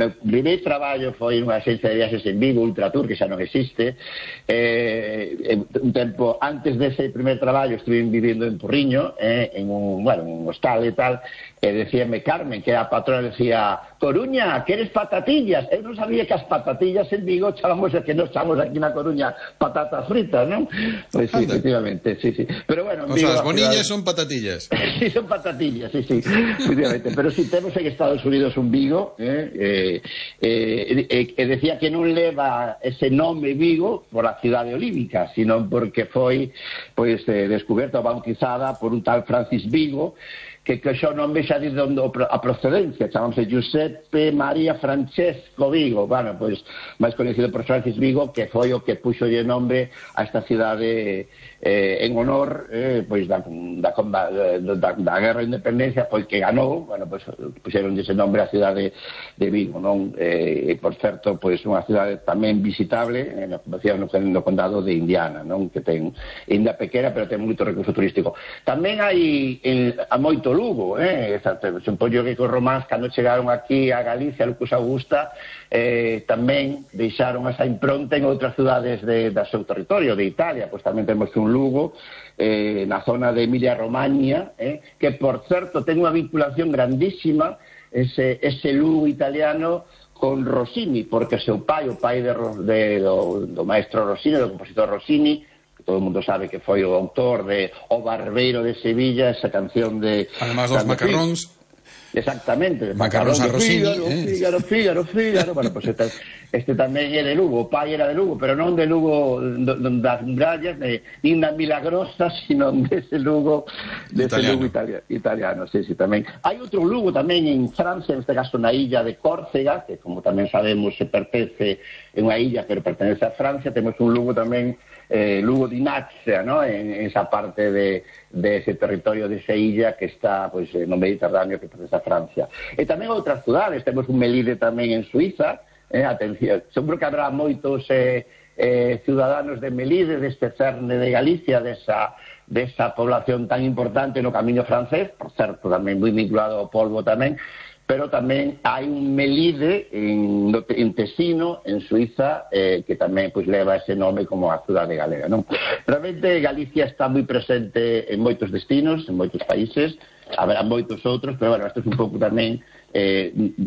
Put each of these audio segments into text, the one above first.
meu primeiro traballo foi nunha axencia de viaxes en Vigo, Ultratour, que xa non existe. Un tempo antes dese primer traballo estuve vivindo en Porriño, en un hostal e tal, e decíame Carmen, que a patrona decía: Coruña, queres patatillas? Eu non sabía que as patatillas en Vigo chamamos, que nos chamamos aquí na Coruña patatas fritas, non? Pois sí, efectivamente, sí. Pero bueno, o sea, as bonillas son patatillas. Sí, son patatillas, sí, efectivamente. Pero si temos en Estados Unidos un Vigo, e decía que non leva ese nome Vigo por a cidade olívica, sino porque foi descoberta ou bautizada por un tal Francis Vigo, que xa o nome xa diz a procedencia, chamámose Giuseppe María Francesco Vigo, bueno, pois máis conhecido por Francis Vigo, que foi o que puxo o nome a esta cidade en honor pois da guerra de independencia, pois que ganou, bueno, pois puxeron ese nome a cidade de Vigo, non? E por certo, pois unha cidade tamén visitable no condado de Indiana, non? Que ten ainda pequena, pero ten moito recurso turístico. Tamén hai a moito Lugo, supoño que os románs cando chegaron aquí a Galicia, a Lucus Augusta, tamén deixaron esa impronta en outras cidades do seu territorio, de Italia. Pois tamén temos un Lugo na zona de Emilia-Romagna, que por certo ten unha vinculación grandísima ese Lugo italiano con Rossini, porque o seu pai, o pai do maestro Rossini, do compositor Rossini, todo o mundo sabe que foi o autor de O Barbeiro de Sevilla, esa canción de... Además dos macarróns. Exactamente. Macarróns a Rossini. Fígaro. Bueno, pues este tamén é de Lugo. O pai era de Lugo, pero non de Lugo das murallas, nin da Milagrosa, sino dese Lugo italiano. Sí, tamén. Hai outro Lugo tamén en Francia, neste caso na illa de Córcega, que como tamén sabemos se pertence en unha illa, pero pertenece a Francia. Temos un Lugo tamén, Lugo di Nazia, ¿no? En esa parte de ese territorio de esa illa que está no Mediterráneo, que pertence a Francia. E tamén outras cidades, temos un Melide tamén en Suiza. Atención, seguro que habrá moitos ciudadanos de Melide, deste cerne de Galicia, desa población tan importante no camiño francés, por certo, tamén moi vinculado ao polvo tamén, pero tamén hai un Melide en Tesino, en Suiza, que tamén leva ese nome como a cidade galega, non? Realmente Galicia está moi presente en moitos destinos, en moitos países, haberá moitos outros, pero bueno, isto é un pouco tamén,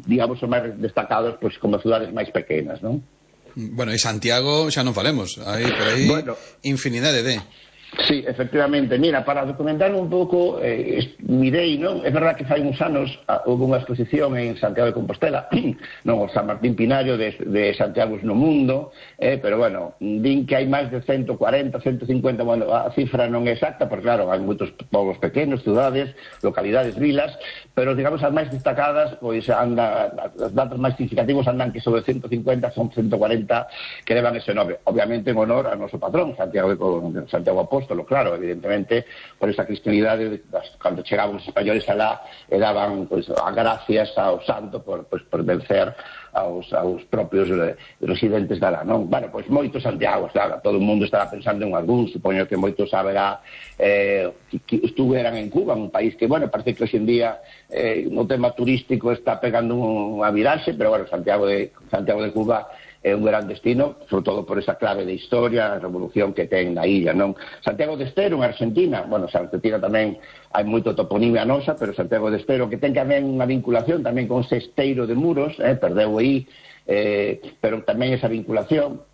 digamos, os máis destacados como cidades máis pequenas, non? Bueno, e Santiago xa non falemos, hai por aí infinidade de... Sí, efectivamente. Mira, para documentar un pouco, mirei, non? É verdad que fai uns anos houve unha exposición en Santiago de Compostela, non, o San Martín Pinario de Santiago no mundo, pero bueno, din que hai máis de 140, 150, bueno, a cifra non é exacta, porque claro, hai moitos povos pequenos, cidades, localidades, vilas, pero digamos as máis destacadas, pois anda, os datos máis significativos andan que sobre 150, son 140 que levan ese nome, obviamente en honor ao noso patrón, Santiago Apóstolo, claro, evidentemente, por esa cristianidade, cando chegaban os españoles alá, e daban as gracias ao santo por vencer aos propios residentes de alá, non? Bueno, pois moitos Santiagos, claro, todo o mundo estará pensando en algún, supoño que moitos haberá que estuveran en Cuba, un país que, bueno, parece que hoxe en día no tema turístico está pegando unha viraxe, pero bueno, Santiago de Cuba é un gran destino, sobre todo por esa clave de historia, a revolución que ten na illa, non? Santiago de Estero, en Argentina, bueno, Argentina tamén hai moito toponimia nosa, pero Santiago de Estero, que ten tamén unha vinculación tamén con ese esteiro de Muros, perdeu aí, pero tamén esa vinculación.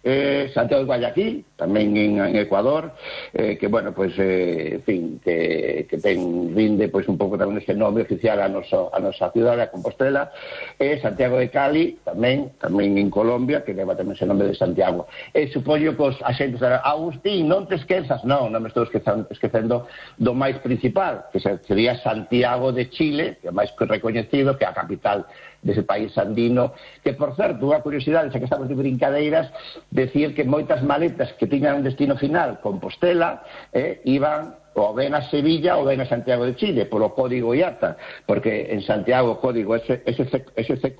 Santiago de Guayaquil, tamén en Ecuador, que, bueno, pois, en fin, que rinde un pouco tamén ese nome oficial a nosa cidade, a Compostela, e Santiago de Cali, tamén en Colombia, que leva tamén ese nome de Santiago. E supoño que os axentes dirán: Agustín, non te esquezas. Non me estou esquecendo do máis principal, que sería Santiago de Chile, que é máis recoñecido, que é a capital dese país andino, que, por certo, unha curiosidade, xa que estamos de brincadeiras, decir que moitas maletas que tiñan un destino final, Compostela, iban ou ben a Sevilla ou ben a Santiago de Chile, polo código IATA, porque en Santiago o código SCQ,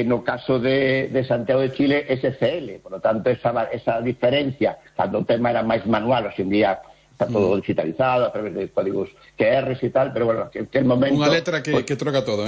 no caso de Santiago de Chile, SCL, por lo tanto, esa diferencia, cando o tema era máis manual, hoxe en día está todo digitalizado a través de códigos QRs e tal, pero bueno, que el momento... Unha letra que troca todo,